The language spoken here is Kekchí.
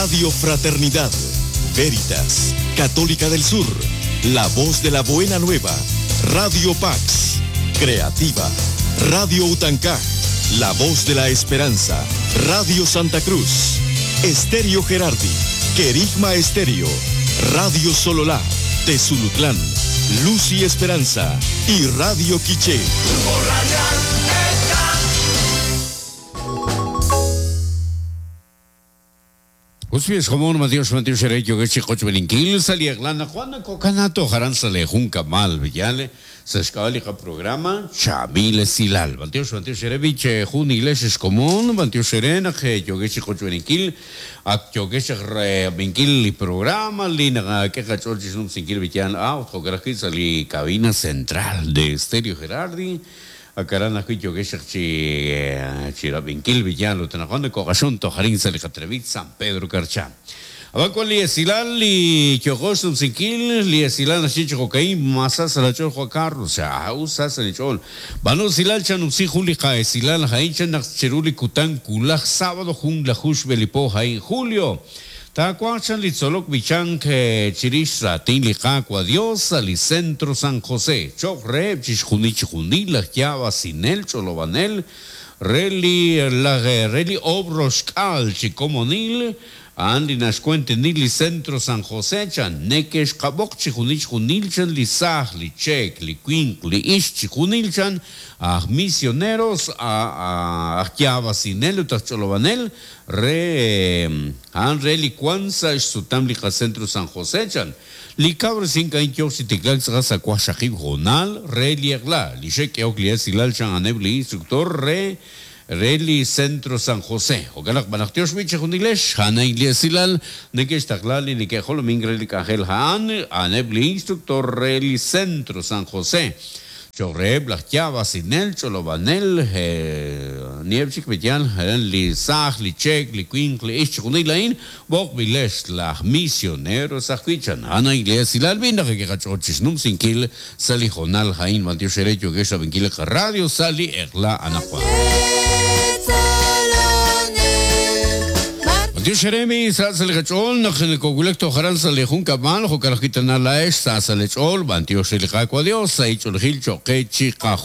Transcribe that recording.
Radio Fraternidad, Veritas, Católica del Sur, La Voz de la Buena Nueva, Radio Pax, Creativa, Radio Utancá, La Voz de la Esperanza, Radio Santa Cruz, Estéreo Gerardi, Querigma Estéreo, Radio Sololá, Tezulutlán, Luz y Esperanza y Radio Quiché. Us xkomon Matios Matios Xere yokex chi qochb'eninkil sa' li eq'la anaqwan nakokana toj aran sa' le jun kamal b'yal sa' xk'ab'a' li qaprograma Chaab'il Esilal. B'antiox B'antiox Xere b'i che jun iglesia xkomon B'antiox Xere naq yokex chi qochb'eninkil ak yokex rab'inkil li programa li naqak'e qach'ool chi xnumsinkil b'yal a ut jo'kan ajwi' sa' li cabina central de Estéreo Gerardi Akaran ajwi' yokex chaq chi chi rab'inkil b'iyal ut anaqwan nakoq'axon toj arin sa' li qatenamit San Pedro Carchá. Ab'an wan li esilal li yooqo xnumsinkil, li esilal naxye chi jo'ka'in, Ma sa sa' laach'ool Juan Carlos? Chan, Us sa sa' linch'ool. B'aanu usilal chanumsi jun li qa'esilal a'in chan naq chiru li kutan wulaj sábado junlaju xb'e li po a'in julio. Taawanq chan li tzolok b'ichank chirix raatin li Qaawa' Dios sa' li Centro San José, cho'q reheb' chixjunil chijunil laj yaab'asinel ch'olob'anel re li laj re li oob' roxk'aal chi komonil, a'an li naxkuentenil li Centro San José chan, neke'xqab'oq chijunil chijunil chan li saaj, li cheek, li winq, li ixq, chijunil chan aj misioneros, aj yaab'asinel ut aj ch'olob'anel Re a'an re li wank sa' xsutam li qacentro San José, chan. Li kawresink a'in yooq chi tiklaak tz'aqal sa' waqxaqib' hoonal re li eq'la. Li xe'k'ehok li esilal chan a'aneb' li instructor re re li Centro San José. Jo'kan naq b'anaq tiox b'i' chejunilex, a'an a'in li esilal neke'xtaqla li neke'jolomink re li k'anjel a'an, a'aneb' li instructor re li Centro San José. Cho'q reheb' laj yaab'asinel, ch'olob'anel, aniheb' chik b'eyal, li saaj, li cheek, li winq, li ixq, chixjunil a'in b'oqb'ilex laj misioneros ajwi' chan. A'an a'in li esilal b'i' naq kiqach'ool chixnumsinkil sa' li hoonal a'in. B'antiox eere yookex rab'inkil li qaradio sa' li eq'la anaqwan. B'antiox eere mi sa' sa' li qach'ool naq nokowulak toj aran sa' li junkab'al, jo'kan ajwi' tana laa'ex sa' sa' lee ch'ool. B'antiox re li Qaawa' Dios sa' ich'oolejil cho'q qe chiqajunil.